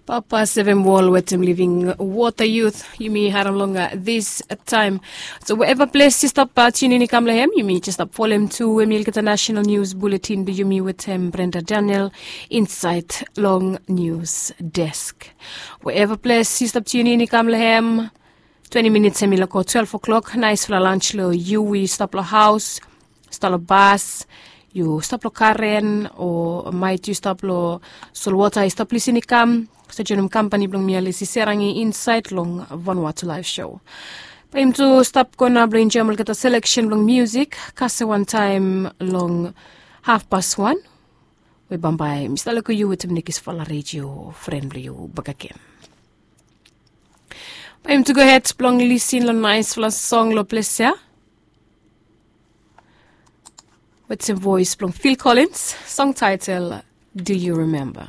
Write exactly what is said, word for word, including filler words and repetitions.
Papa sevem wol wetem living water youth yumi harim long this time. So wherever ples yu stap tunin i kam long hem, yumi just stap folem tu em olgeta national news bulletin blong yumi wetem Brenda Daniel inside long news desk. Wherever ples yu stap tunin i kam long hem, twenty minutes em i loko twelve o'clock. Naisfala lunch long yu we yu stap long haus, stap long bas, yu stap long karen, o maet yu stap long solwota yu stap lisin i kam. So joinim kampani blong mi Alisi Serangi inside long Vanuatu Live Show. Bae yumi tu stap go nao blong enjoim olgeta selection blong music. Kasem wantaem long half past one, we bambae mi stap loko yu wetem nekisfala radio fren blong yu bakegen. Bae yumi tu go hed blong lisin long naisfala song long ples ya wetem voes blong Phil Collins. Song title Do You Remember?